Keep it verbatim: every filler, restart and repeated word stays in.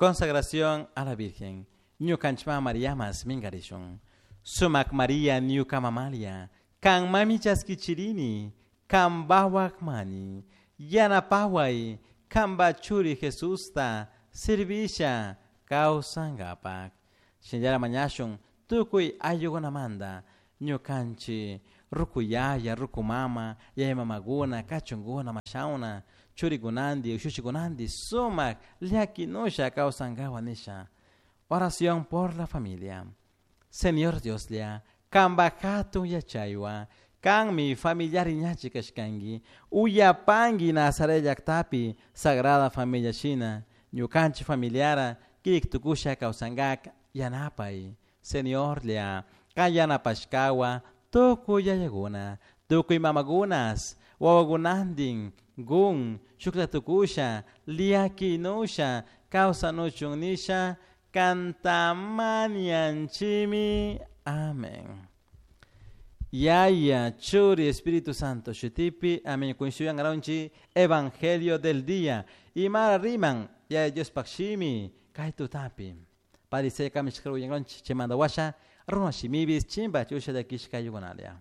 Consagración a la Virgen. Ñukanchik Mariamas mingarishun. Sumak Maria ñuka mamalia. Kan mami chaskichirini. Kan mani. Yanapaway. Kanpa churi Jesusta. Servisha. Kawsankapak. Shinallara mañashun. Tukuy ayllukunamanta. Ñukanchik. Ruku yaya, ruku mama, yaya mamaguna, kachunguna, mashauna, churikunandi, ushushikunandi, sumak, llakinusha kawsankawa nisha. Oración por la familia. Señor Dioslla, kanpa hatun yachaywa, kanmi familiar ñachi kashkanki, uyapanki Nazaret llaktapi, Sagrada Familia shina, ñukanchik familiara, kirik tukusha kawsankak yanapay. Señorlla, kan yanapashkawa, tukuy yayakuna, tukuy mamakunas, wawakunantin, gun, shuklla tukusha, llakinusha, kawsanuchun nisha, kantamanianchimi. Amén. Yaya, Churi, Espíritu Santo, Shutipi, amén. Kunshuyan araunchi, Evangelio del día. Imara riman, Yaya Diospaj shimi, kay tutapi. Padre kamishkaru yangonchi, chimanda washa, runa shimibis, chimba chusha de kishka yugonalia.